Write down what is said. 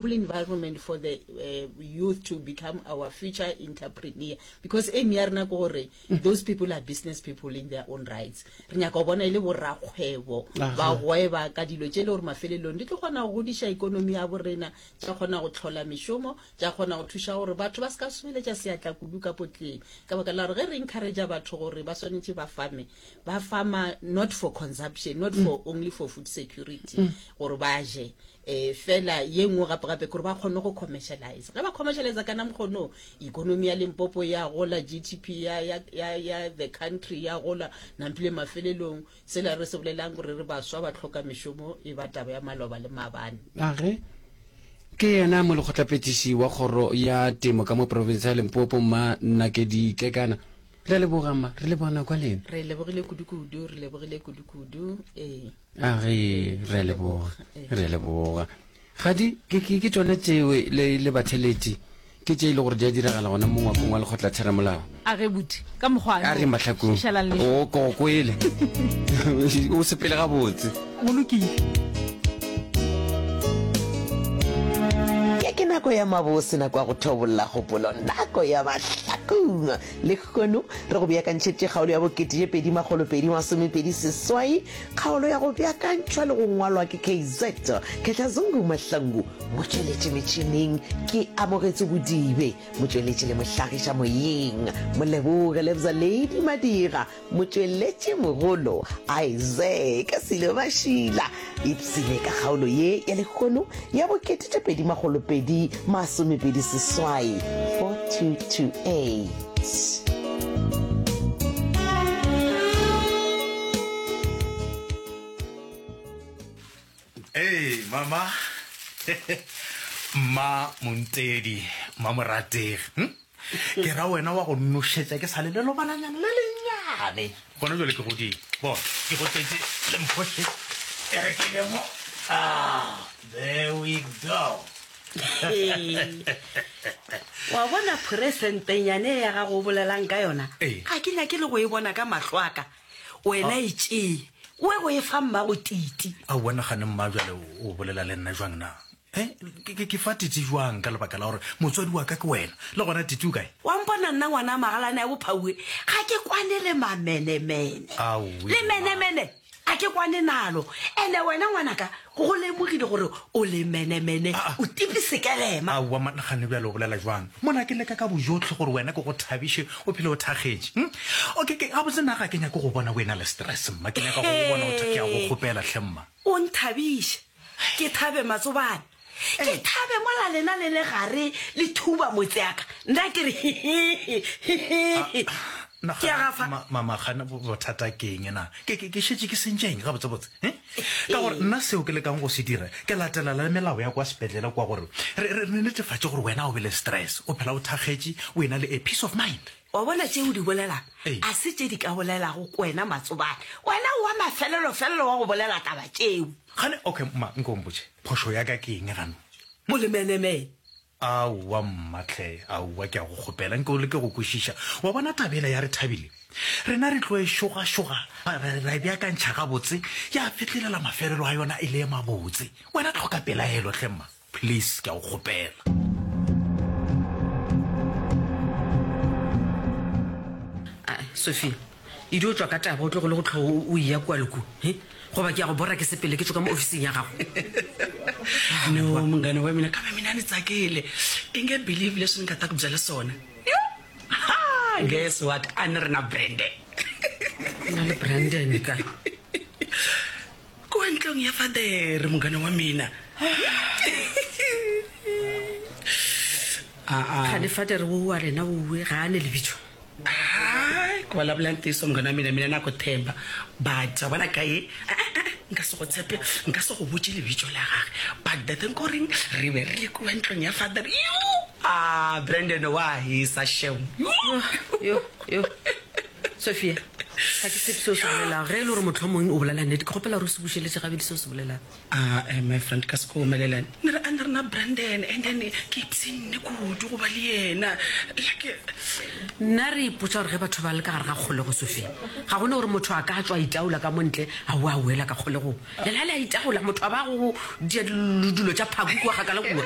Environment for the uh, youth to become our future entrepreneur because aim ya rena ke gore those people are business people in their own rights. Re nyaka go bona e le borakgwebo ba gweba ka dilo tše le gore mafelelong di tlo kgona go godiša ikonomi ya borena, tša kgona go tlhola mešomo, tša kgona go thuša gore batho ba se ka sobeletša seatla kudu ka potleng. Ka baka la gore ge re encouragea batho gore ba swanetše ba fame, ba fama not for consumption, not for only for food security gore ba je, E, fela ye nngwe gape-gape ke gore ba kgone go commercialize. Ge ba commercialize ka namkgono, economy ya Limpopo ya gola, GDP ya, ya, ya, ya the country ya gola, nampile mafelelong sela re se bolelang gore re baswa ba hloka mešomo e ba taba ya maloba le maabane. A ge ke yena molekgotlaphethiši wa kgoro ya temo ka mo profense ya Limpopo, Mma Nakedi Kekana. Re a leboga mma, re leboga nako ya lena. Re lebogile kudu-kudu, re lebogile kudu-kudu, ee. A ge re a leboga, re a leboga. Gadi, ke, ke, ke tšona tšewe le, le batheletši, ke tše e le gore di a diragala gona mo ngwakong wa lekgotlatheramolao. A ge buti, ka mokgwa A re mahlakong. Šalang le. O ko kwele. O sepele gabotse. Go lokile. Ye ke nako ya mabose, nako ya go thobolla kgopolo, nako ya mahlakong. Lehono re go beakantšheditše kgaolo ya bokete tše 2228, kgaolo ya go beakantšhwa le go ngwalwa ke KZ Khehla Zungu Mahlangu, motšweletši metšhineng ke Amogetso Bodibe, motšweletši le mohlagiša moyeng Moleboge Lebza Lady Madira, Motšweletši mogolo Isaac Silo Mašila. Ipshine ka kgaolo ye ya lehono ya bokete tše 2228, 4228. Hey, mama. Mma Montedi, mma Morategi. Hm? Ke ra wena wa go nošetša ke sa le lelobananyana le lennyane. Gona jwale ke godile. Bona, ke go tletše le mphoše. E re ke be mo. Ah, there we go. Wa bona phoresentenyane ya gago o bolelang ka yona? Ee. Ga ke nyake le go e bona ka mahlo a ka. Wena e tšee, o ye go e fa mmago Titi. Aowa, nagane mma bjale o bolela le nna jwang na? He, ke, ke, ke fa Titi bjang ka lebaka la gore motswadi wa ka ke wena? Le gona Titi o kae? Wa mpona nna ngwana magalane a bophauwe, ga ke kwane le mamenemene. Aowi, Le menemene ga ke kwane nalo. Ene wena ngwanaka, go lemogile gore o lemenemene, o tipi sekelema. Aowa, ma, nagane bjale o bolela bjang? Mona ke leka ka bojohle gore wena ke go thabiše, o phele o thakgetše. Hm? Okay, ke, gabotse nna ga ke nyake go bona o ena le stress, mma. Ke nyaka go go bona o tha-, ke a go kgopela hle, mma. O nthabiše. Ke thabe matsobane. Ke thabe mola lena le le gare le thuba motse ya ka. Nna ke re hihihi, hihihi. Ke a gafa. Mama, gana bothata ke eng na? Ke, ke, ke šetše ke sentše eng gabotsebotse? He? Ka gore nna seo ke lekang go se dira, ke latela le melao ya kwa sepetlele kwa gore re, re, re netefatše gore wena o be le stress, o phela o thakgetše, o ena le a peace of mind. Wa bona tše o di bolelang Ee. a se tše di ka bolelago ke wena Matsobane. Wena o wa mafelelo-felelo wa go bolela taba tšeo. Gane, okay, mma, nko o mpotše, phošo ya ka ke eng gano? O lemenemene. Aowa, mma hle, aowa, ke a go kgopela, nke o leke go kwešiša. Wa bona taba yela ya Rethabile? Rena re tlo e šogašoga, ra, ra e beakantšha gabotse, ya fetlelela mafelelo a yona e le e mabotse. Wena hloka pelaelo hle, mma. Please, ke a go kgopela. Ae, Sophia, e dio tšwa ka taba o tlogele go tlhogo o eya kua le kua, he? Goba ke ya go bora ke sepele ke tšwe ka mo ofising ya gago. No, munghana wa mina, kambe mina ni tsakile. I nge believe leswi ni nga ta ku byela swona. Yo! Ha! Guess what? A ni ri na Brandon. Na le Brandon ka? Kua ntlong ya Fadere, munghana wa mina. Aa. Kgane Fadere wo wa lena wowe ga a ne lebitso? Hai, ku vulavula ntiyiso munghana wa mina, mina na ku tshemba. But wa bona ka ye, e-e-e, nka se go tshepe, nka se go botše lebitso la gage. But the thing ko reng, re be re le kua ntlong ya Fadere. Yoo! Ah, Brandon wa hisa shem. Yo, yo, yo. Sophia, ga ke tshepe se o se bolelago. Ge e le gore mohlomongwe o bolela nnete, ke kgopela gore o se bušeletše gabedi se o se bolelago. Ah, eh, my friend, ka se ko omelelane. Ne re, a ne re. rena Brandon and then ke ipshinne kudu go ba le yena. Like Nna re ipotša gore ge batho ba le ka gare ga kgolego Sophie, ga gona gore motho a ka tšwa a itaola ka mo ntle a boa a boela ka kgolegong. Lela le a itaola motho a ba go dia dilo tša phaku kua kgakala kua.